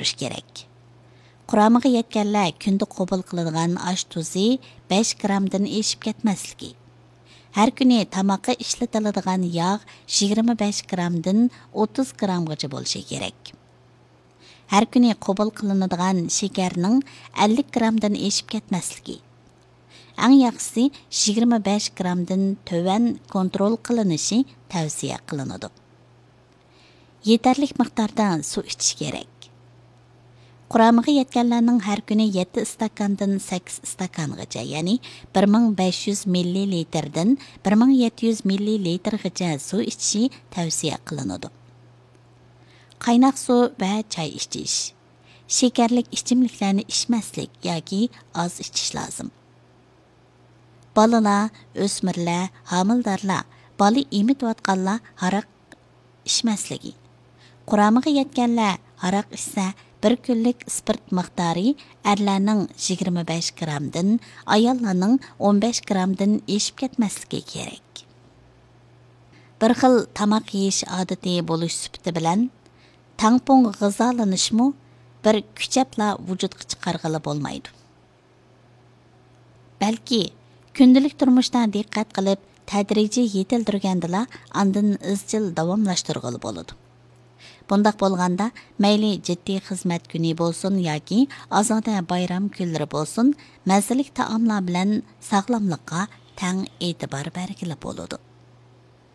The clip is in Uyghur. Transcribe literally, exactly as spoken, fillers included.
تۇرۇش كېرەك. قۇرامىغا يەتكەنلەر كۈندە قوبۇل قىلىدىغان ئاش تۇزى بەش گرامدىن ئېشىپ كەتمەسلىكى. ھەر كۈنى تاماققا ئىشلىتىلىدىغان ياغ يىگىرمە بەش گرامدىن ئوتتۇز گرامغىچە بولۇشى كېرەك. ھەر كۈنى قوبۇل قىلىنىدىغان شېكەرنىڭ ئەللىك گرامدىن ئېشىپ كەتمەسلىكى. ئەڭ ياخشىسى يىگىرمە بەش گرامدىن تۆۋەن كونترول قىلىنىشى تەۋسىيە قىلىنىدۇ. يېتەرلىك مىقداردا سۇ ئىچىش كېرەك. قۇرامىغا يەتكەنلەرنىڭ ھەر كۈنى يەتتە ئىستاكاندىن سەككىز ئىستاكانغىچە، يەنى بىر مىڭ بەش يۈز مىللىلىتىردىن بىر مىڭ يەتتە يۈز مىللىلىتىرغىچە سۇ ئىچىشى تەۋسىيە قىلىنىدۇ. قايناق سۇ ۋە چاي ئىچىش. شېكەرلىك ئىچىملىكلەرنى ئىچمەسلىك ياكى ئاز ئىچىش لازىم. بالىلار، ئۆسمۈرلەر، ھامىلىدارلار، بالا ئېمىتىۋاتقانلار ھاراق ئىچمەسلىكى. قۇرامىغا يەتكەنلەر ھاراق ئىچسە، بىر كۈنلۈك ئىسپىرت مىقدارى ئەرلەرنىڭ يىگىرمە بەش گرامدىن، ئاياللارنىڭ ئون بەش گرامدىن ئېشىپ كەتمەسلىكى كېرەك. بىر خىل تاماق يېيىش ئادىتى بولۇش سۈپىتى بىلەن، تەڭپۇڭ غىزالىنىشمۇ بىر كۈچەپلا ۋۇجۇدقا چىقارغىلى بولمايدۇ. بەلكى كۈندىلىك تۇرمۇشتا دىققەت قىلىپ، تەدرىجىي يېتىلدۈرگەندىلا، ئاندىن ئىزچىل داۋاملاشتۇرغىلى بولىدۇ. بۇنداق بولغاندا، مەيلى جىددىي خىزمەت كۈنى بولسۇن ياكى ئازادە بايرام كۈنلىرى بولسۇن، مەززىلىك تائاملار بىلەن ساغلاملىققا تەڭ ئېتىبار بەرگىلى بولىدۇ.